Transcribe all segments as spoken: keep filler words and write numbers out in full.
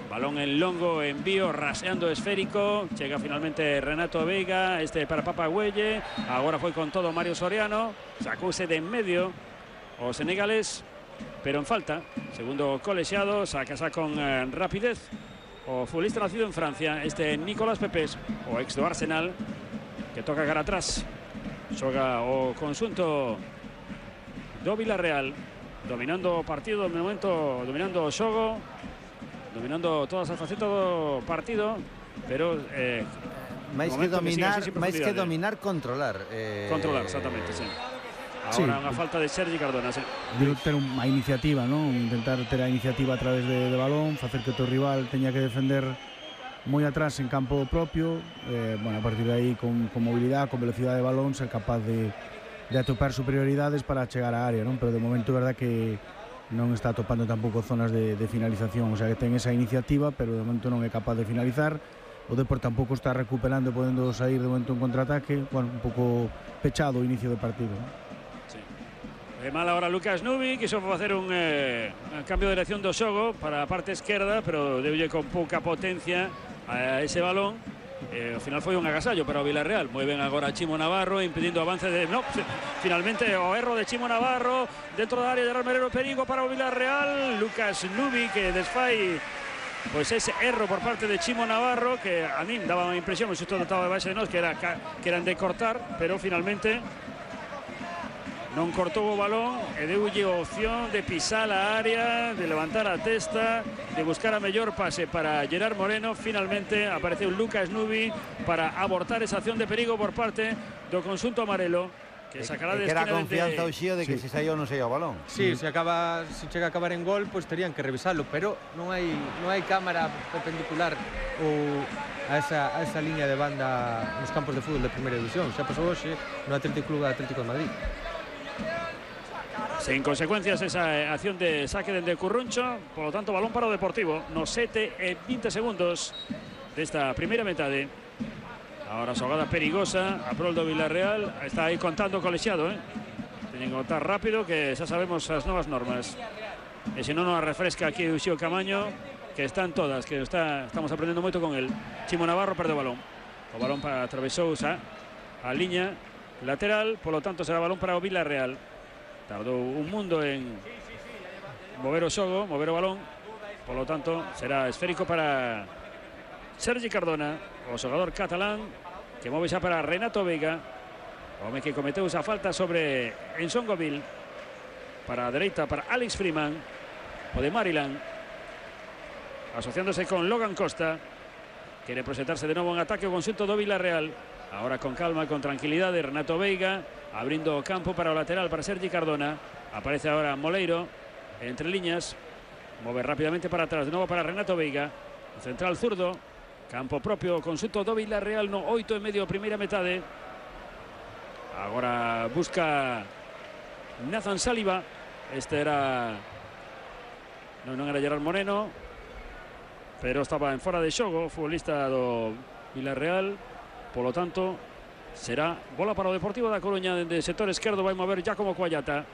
Balón en longo, envío, raseando esférico. Llega finalmente Renato Veiga. Este para Papa Güelle. Ahora fue con todo Mario Soriano. Sacóse de en medio o senegales, pero en falta. Segundo colegiado, saca con eh, rapidez. O futbolista nacido en Francia, este Nicolás Pepes, o ex do Arsenal, que toca cara atrás. Xoga o consunto do Villarreal, dominando o partido, de momento dominando o xogo, dominando todas as facetas do partido, pero eh, máis que dominar, que máis que dominar, controlar. Eh, controlar, exactamente, sí. Ahora sí. Unha falta de Sergi Cardona, sí. Digo, ter unha iniciativa, ¿no? Intentar ter a iniciativa a través de, de balón, facer que o teu rival teña que defender moi atrás en campo propio, eh, bueno, a partir de aí con, con movilidade, con velocidade de balón, ser capaz de, de atopar superioridades para chegar á área, ¿no? Pero de momento é verdad que non está atopando tampouco zonas de, de finalización, o sea que ten esa iniciativa, pero de momento non é capaz de finalizar. O Depor tampouco está recuperando, podendo sair de momento en contraataque, bueno, un pouco pechado o inicio do partido, ¿no? De mal ahora Lucas Nubi, quiso facer un, eh, un cambio de dirección do xogo para a parte esquerda, pero deulle con pouca potencia a ese balón. Eh, ao final foi un agasallo para o Villarreal. Moi ben agora Chimo Navarro, impedindo o avance de... No, finalmente o erro de Chimo Navarro dentro da área de Gerard Moreno, perigo para o Villarreal. Lucas Nubi que desfai pois ese erro por parte de Chimo Navarro, que a mí daba unha impresión, o xusto estaba de base de nós, que, era, que eran de cortar, pero finalmente non cortou o balón e deulle a opción de pisar a área, de levantar a testa, de buscar a mellor pase para Gerard Moreno. Finalmente apareceu Lucas Nubi para abortar esa acción de perigo por parte do conxunto amarelo, que sacará de esquina. Que era confianza o Xío de que sí. se saía ou non saía o balón. Sí, mm. se acaba, se chega a acabar en gol, pois pues terían que revisarlo, pero non hai non hai cámara perpendicular ou a esa a esa liña de banda nos campos de fútbol de primeira división. Xa pasou hoxe no Atlético Club Atlético de Madrid. Sin consecuencias esa acción de saque dende Curruncho, por lo tanto balón para o Deportivo nos sete e vinte segundos desta primeira metade. Agora xogada perigosa a prol do Villarreal, está aí contando o colexiado, eh? Teñen que contar rápido, que xa sabemos as novas normas, e se non nos refresca aquí o Xío Camaño, que están todas, que está, estamos aprendendo moito con el. Chimo Navarro perde o balón, o balón para atravesou xa a liña lateral, por lo tanto será balón para o Villarreal. Tardou un mundo en mover o xogo, mover o balón, por lo tanto será esférico para Sergi Cardona, o xogador catalán, que move xa para Renato Veiga, o home que cometeu esa falta sobre Ensongoville. Para a dereita para Alex Freeman, o de Maryland, asociándose con Logan Costa. Quere proxectarse de novo en ataque o conxunto do Villarreal. Ahora con calma, con tranquilidade, Renato Veiga abrindo o campo para o lateral para Sergi Cardona. Aparece ahora Moleiro entre líneas, move rápidamente para atrás, de novo para Renato Veiga, o central zurdo, campo propio, conxunto do Villarreal no oito e medio, primeira metade. Agora busca Nathan Saliba. Este era non, non era Gerard Moreno, pero estaba en fora de xogo, futbolista do Villarreal. Por lo tanto, será bola para o Deportivo da Coruña. Dende sector esquerdo vai mover Giacomo Coallata.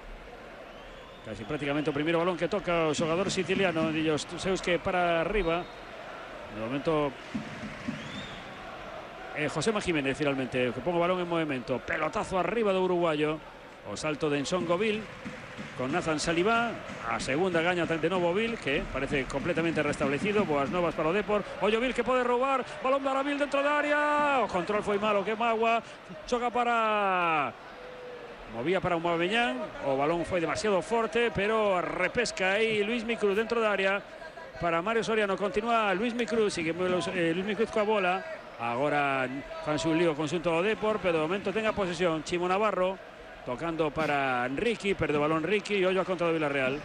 Casi prácticamente o primeiro balón que toca o xogador siciliano. Dillos seus que para arriba. De momento eh, Josema Jiménez finalmente, que pongo o balón en movimento. Pelotazo arriba do uruguayo. O salto de Ensongoville con Nathan Saliba. A segunda gaña de novo Vil, que parece completamente restablecido. Boas novas para o Depor. Ollo Vil que pode roubar. Balón para Vil dentro da área. O control foi malo, que magua. Xoga para... Movía para un Moveñán. O balón foi demasiado forte, pero repesca aí Luis Micruz dentro da área. Para Mario Soriano continúa Luis Micruz. Sigue eh, Luis Micruz coa bola. Agora fanse un lío conxunto do Depor, pero de momento tenga posesión Chimo Navarro. Tocando para Ricky, perde o balón Ricky e ollo a contra do Villarreal.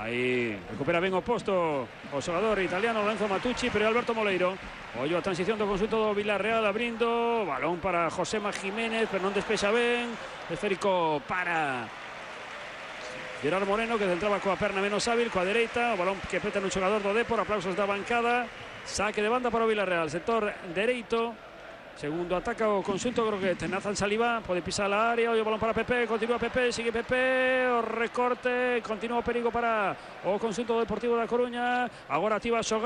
Aí recupera ben o posto o xogador italiano Lorenzo Matucci, pero Alberto Moleiro. Ollo a transición do conxunto do Villarreal, abrindo, balón para Josema Jiménez, pero non despexa ben. Esférico para Gerard Moreno, que centraba coa perna menos hábil, coa dereita, o balón que peta no xogador do Depor. Aplausos da bancada. Saque de banda para o Villarreal, sector dereito. Segundo ataca o consulto Groguet. Nathan Saliba pode pisar a área. O balón para Pepe. Continúa Pepe. Sigue Pepe. O recorte. Continúa o perigo para o consulto Deportivo da Coruña. Agora activa a xogada.